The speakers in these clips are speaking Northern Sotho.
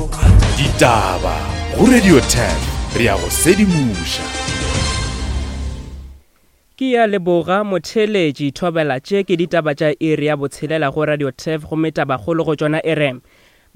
Ditaba go Radio 10 re ya go sedimoša. Ke ya leboga motheeletši Thobela tše ke ditaba tša iri ya botshelela go Radio Turf gomme tabakgolo go tšona e re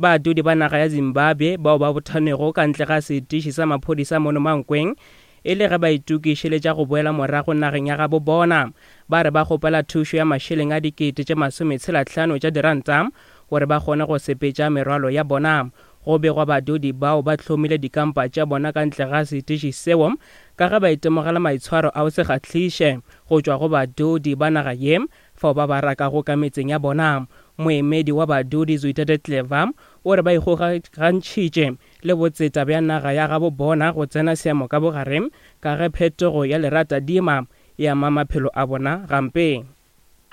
Badudi ba naga ya Zimbabwe bao ba bothanego ka ntle ga setiši sa maphodisa mono Mankweng e le ge ba itokišeletša go boela morago nageng ya gabo bona ba re ba kgopela thušo ya mašeleng a dikete tše masometshelahlano tša diranta gore ba kgone go sepetša merwalo ya bona. Go begwa badudi bao ba hlomile dikampa tša bona ka ntle ga setiši seo ka ge ba itemogela maitshwaro a go se kgahliše go tšwa go badudi ba naga ye fao ba ba rakago ka metseng ya bona. Moemedi wa badudi Zuitete Clever o re ba ikgokagantšhitše le botseta bja naga ya gabo bona go tsena seemo ka bogare ka ge phetogo ya leratadima e ama maphelo a bona gampe.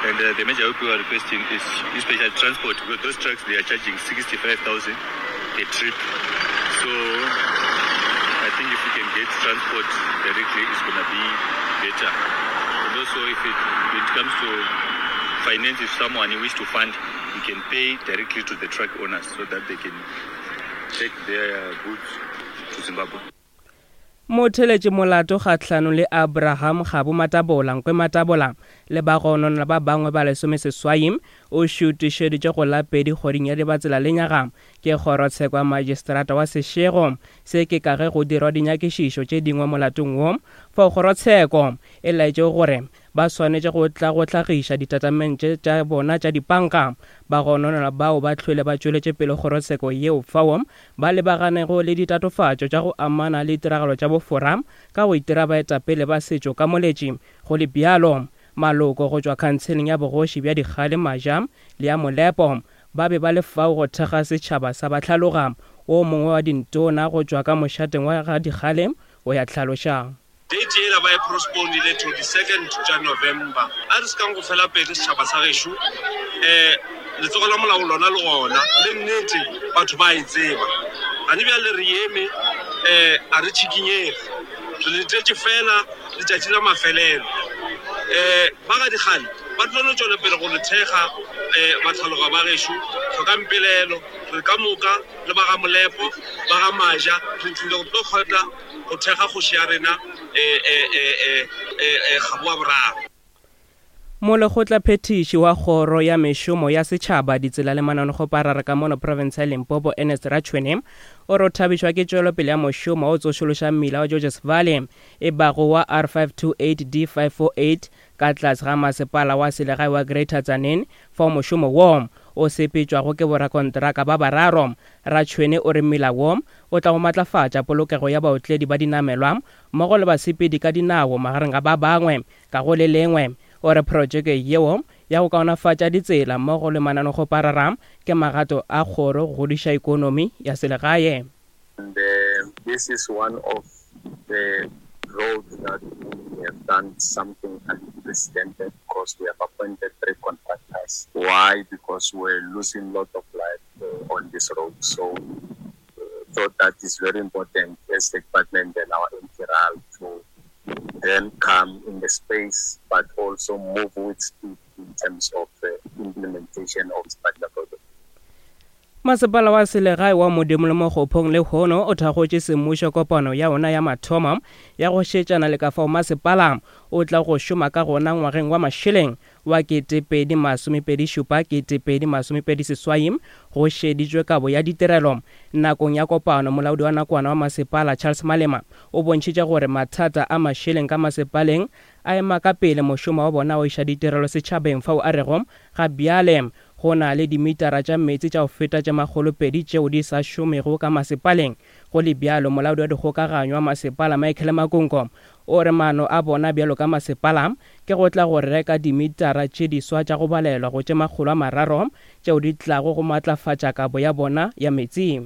And uh, the major help we are requesting is especially transport because those trucks they are charging 65,000 a trip. So I think if we can get transport directly, it's going to be better. And also if it, when it comes to finance, if someone wish to fund, he can pay directly to the truck owners so that they can take their goods to Zimbabwe. Motheletše molato kgahlanong le Abraham Kgabo Matabola, Nkwe Matabola le bagononwa ba bangwe ba lesomeseswai o šutišeditšwe go la pedi kgweding ya Dibatsela lenyaga ke kgorotsheko ya majistrata wa Seshego. Se ke ka ge go dirwa dinyakišišo tše dingwe molatong wo fao kgorotsheko e laetšego gore ba swanetše go tla go hlagiša ditatamente tša bona tša dipanka. Bagononelwa bao ba hlwele ba tšweletše pele kgorotsheko yeo fao ba lebaganego le ditatofatšo tša go amana le ditiragalo tša bofora ka go itira baetapele ba setšo ka moletši. Go le bjalo, maloko go tšwa khanseleng ya bogoši bja Dikgale Maja le ya Molepo ba be ba le fao go thekga setšhaba sa Bahlaloga. Wo mongwe wa dintona go tšwa ka mošateng wa ga Dikgale o ya hlaloša. Date yela ba e prosponile to di second tša November. A re sekang go fela pele setšhaba sa gešo. Um letsogo la molao lona le gona, le nnete batho ba e tseba. Gane bjale re eme, um a re tšhikinyege. Re letetše fela letšatši la mafelelo. Um ba ga Dikgale ba tlo no tšwela pele go re thekga, um bahlaloga ba gešo. Hlokang pelaelo, re ka moka le ba ga Molepo, ba ga Maja, re tlile go tlo kgotla go thekga kgoši ya rena Kgabo wa Boraro. Molekgotlaphethiši wa Kgoro ya Mešomo ya Setšhaba, Ditsela le Mananegopharara ka mono profense ya Limpopo, Ernest Ratshwene, o re o thabišwa ke tšwelopele ya mošomo wa go tsošološa mmila wa Georges Valley e bago wa R528 D548 ka tlase ga masepala wa selegae wa Greater Tzaneen fao mošomo wo o sepetšwago ke borakontraka ba bararo. Ratshwene o re mmila wo o tla go matlafatša polokego ya baotledi ba dinamelwa mmogo le basepedi ka dinao magareng ga ba bangwe. Ka go le lengwe, o re protšeke yeo ya go kaonafatša ditsela mmogo le mananegopharara ke magato a kgoro go godiša ikonomi ya selegae. And this is one of the roads that we have done something unprecedented because we have appointed three contractors. Why? Because we're losing lot of life on this road. So thought that is very important as the department and our MTRAL to then come in the space, but also move with speed in terms of uh, implementation of this particular project. Masepala wa selegae wa Modimo le Mokgophong lehono o thakgotše semmušo kopano ya ona ya mathomo ya go šetšana le ka fao masepala o tla go šoma ka gona ngwageng wa mašeleng wa 2027 2028 go šeditšwe kabo ya ditirelo. Nakong ya kopano, molaodi wa nakwana wa masepala Charles Malema o bontšhitše gore mathata a mašeleng ka masepaleng a ema ka pele mošomo wa bona wa iša ditirelo setšhabeng fao a rego ga bjale go na le dimitara tša meetse tša go feta tše makgolopedi tšeo di sa šomego ka masepaleng. Go le bjalo, molaodi wa dikgokaganyo wa masepala Michael Makungo o re maano a bona bjalo ka masepala ke go tla go reka dimitara tše diswa tša go balelwa go tše 300 tšeo di tlago go matlafatša kabo ya bona ya meetse.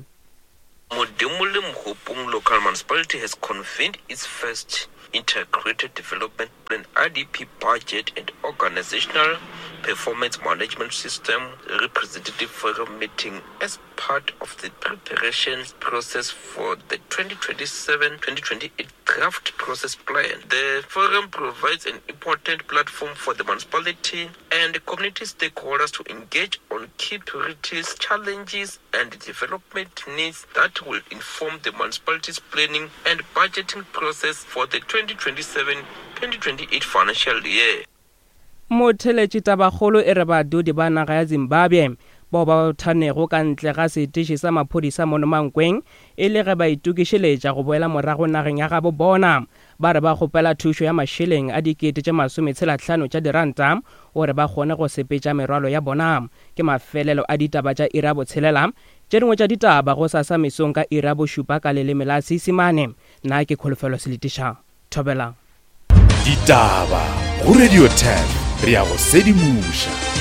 Modimolle Mokgopong Local Municipality has convened its first Integrated Development Plan, IDP, Budget and Organizational Performance Management System Representative Forum meeting as part of the preparation process for the 2027-2028 draft process plan. The forum provides an important platform for the municipality and community stakeholders to engage on key priorities, challenges, and development needs that will inform the municipality's planning and budgeting process for the 2027-2028 financial year. Motheletši tabakgolo e re badudi ba naga ya Zimbabwe bao ba bothanego ka ntle ga setiši sa maphodisa mono Mankweng e le ge ba itokišeletša go boela morago nageng ya gabo bona ba re ba kgopela thušo ya mašeleng a dikete tše masometshelahlano tša diranta gore ba kgone go sepetša merwalo ya bona. Ke mafelelo a ditaba tša iri ya botshelela. Tše dingwe tša ditaba gosasa mesong ka iri ya bošupa ka leleme la Seisemane. Nna ke Kholofelo Seletiša. Thobela. Ditaba go Radio 10 re a go sedimoša.